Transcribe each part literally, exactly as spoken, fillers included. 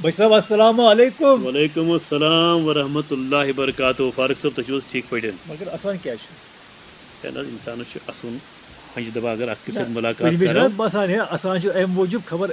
بچ صٲب، السلام علیکم۔ وعلیکم السلام ورحمۃ اللہ وبرکاتہ۔ فاروق صٲب، تُہۍ چھِو حظ ٹھیٖک پٲٹھۍ؟ مگر آسان کیٛاہ چھُ؟ ہے نہ حظ، اِنسانَس چھُ اَسُن ہۄنٛجہِ دَبہٕ، اگر اَکھ أکِس سۭتۍ مُلاقات کُنہِ وِزِ چھُ کَرو۔ نہ باسان ہے، اَسان چھُ اَمہِ موٗجوٗب خبر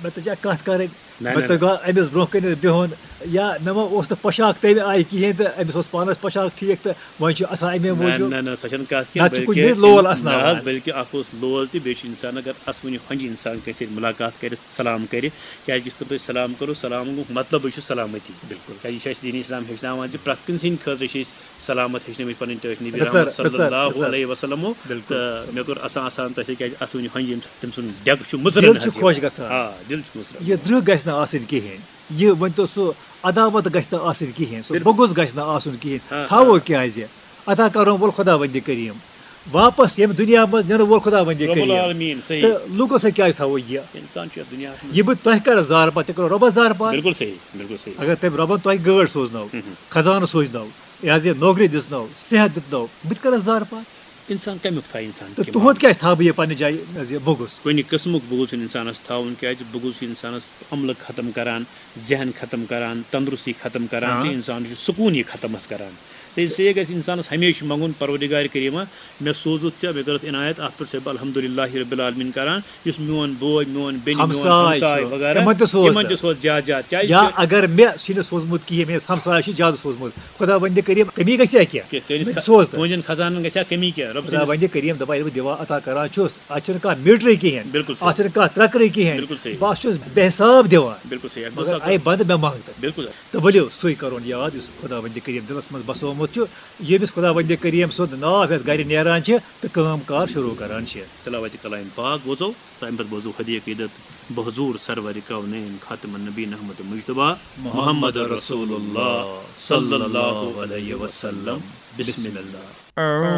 مےٚ تہِ چھا کَتھ کَرٕنۍ، نہ، مےٚ نہ، تہِ گوٚو أمِس برونٛہہ کَنہِ بِہُن، یا مےٚ ما اوس نہٕ پۄشاک تَمہِ آیہِ کِہیٖنۍ تہٕ أمِس اوس پانَس پۄشاک ٹھیٖک تہٕ وۄنۍ چھُ اَسان اَمے نہ، موٗجوٗب۔ نہ، نہ، سۄ چھَنہٕ کَتھ کینٛہہ، نَتہٕ چھُ کُنہِ بلکہِ وِزِ لول نہ اَسناوان۔ حظ، بلکہِ اَکھ اوس لول تہِ، بیٚیہِ چھُ اِنسان اگر اَسوٕنہِ ہۄنٛجہِ اِنسان کٲنٛسہِ سۭتۍ مُلاقات کَرِ، سلام کَرِ، کیٛازِ یُس کٲنٛسہِ سۭتۍ سلام کَرو، سلام گوٚو مطلبٕے چھُ سلامتی۔ بِلکُل۔ کیٛازِ یہِ چھُ اَسہِ دیٖنی اِسلام ہیٚچھناوان زِ پرٛٮ۪تھ کٲنٛسہِ ہِنٛدِ خٲطرٕ چھِ أسۍ سلامت ہیٚچھنٲومٕتۍ پَنٕنۍ ٹٲٹھۍ نبی رٕژَر، رحمت صلی رٕژَر، اللہ رٕژَر۔ علیہ وسلمو۔ بِلکُل۔ تہٕ مےٚ کوٚر اَسان اَسان تۄہہِ سۭتۍ، کیٛازِ اَسوٕنہِ ہۄنٛجہِ ییٚمہِ ساتہٕ تٔمۍ سُنٛد ڈٮ۪کہٕ چھُ مُژرَن دِل چھُ حظ خۄش یِوان۔ گژھان۔ آ، دِل چھُ مُژرَن۔ یہِ درٛہ گژھِ نہٕ آسٕنۍ کِہیٖنۍ، یہِ ؤنۍ تو سُہ عداوت گژھِ نہٕ آسٕنۍ کِہیٖنۍ، سُہ بِلکُل۔ بغض گژھِ نہٕ آسُن کِہیٖنۍ، آ، تھاوو آ۔ کیٛازِ؟ عطا کَرُن وول خۄداوندِ کریٖم، واپس ییٚمہِ دُنیا منٛز نِنہٕ وول خۄداوندِ رب کریٖم۔ العالمین، صحیح۔ تہٕ لوٗکو سۭتۍ کیٛازِ تھاوو یہِ؟ اِنسان چھُ یَتھ دُنیاہَس منٛز۔ یہِ بہٕ تۄہہِ کَرٕ زارپار، تہِ کَرو رۄبَس زارپار۔ بِلکُل صحیح، بِلکُل صحیح۔ اگر تٔمۍ رۄبَن تۄہہِ گٲڑۍ سوزنو، مہم۔ خزانہٕ سوزنو، یہِ حظ یہِ نوکری دِژنو، صحت دیُتنو، بہٕ تہِ کَرَس زارپار۔ اِنسان کَمیُک تھایہِ اِنسان تہٕ کیٛاہ تُہُنٛد معاملہٕ؟ کیٛازِ تھاوٕ بہٕ یہِ پنٛنہِ جایہِ حظ یہِ بغض؟ کُنہِ قٕسمُک بغض چھُنہٕ اِنسانَس تھاوُن، کیٛازِ بغض چھُ اِنسانَس عملہٕ ختم کَران، ذہن ختم کَران، تندرستی ختم کَران، آ۔ تہٕ اِنسانَس چھُ سکوٗنٕے ختم حظ کَران۔ تہٕ اس لیے گژھِ اِنسانَس ہمیشہِ منٛگُن، پروردگار کریٖما، مےٚ سوٗزُتھ ژےٚ، مےٚ کٔرٕتھ عنایت، اَتھ پٮ۪ٹھ چھُس بہٕ الحمدُ للہ رب العالمین کَران، یُس میون بوے، میون بیٚنہِ، میون ہمساے ہمساے چھُ، وغیرہ، تِمَن تہِ سوز تِمَن تہٕ۔ تہِ سوز زیادٕ زیادٕ، کیٛازِ یا چھِ اگر مےٚ چھُنہٕ سوٗزمُت کِہیٖنۍ، مےٚ یُس ہمساے چھُ زیادٕ سوٗزمُت، خۄداوندِ کریٖم کٔمی گژھِ ہا کینٛہہ؟ کہِ چٲنِس مےٚ تہِ خ- سوز تہٕ۔ تُہٕنٛدٮ۪ن خزانَن گژھِ ہا کٔمی کینٛہہ؟ رۄب سٕنٛدِس خۄداوندِ کریٖم دَپان، ییٚلہِ بہٕ دِوان عطا کَران چھُس، اَتھ چھُنہٕ کانٛہہ میٖٹرٕے کِہیٖنۍ، بِلکُل صحیح۔ اَتھ چھُنہٕ کانٛہہ ترٛکرٕے کِہیٖنۍ، بِلکُل صحیح۔ بہٕ ہا چھُس بے حساب دِوان۔ بِلکُل صحیح۔ اَتھ مگر گوٚو سا اَے بنٛدٕ، مےٚ منٛگ تہٕ۔ بِلکُل۔ تہٕ ؤلِو سُے کَرُن یاد یُس خۄداوندِ کریٖم دِلَس منٛز بسومُت چھُ، ییٚمِس خۄداوندِ کریٖم سُنٛد ناو ہٮ۪تھ گَرِ نیران چھِ تہٕ کٲم کار شروٗع کَران چھِ۔ تلاوت کلام پاک بوزو، تہٕ اَمہِ پتہٕ بوزو ہدیہ عقیدت بحضور سرور کونین خاتم النبین احمد مجتبیٰ محمد رسول اللہ صلی اللہ علیہ وسلم۔ بسم اللہ۔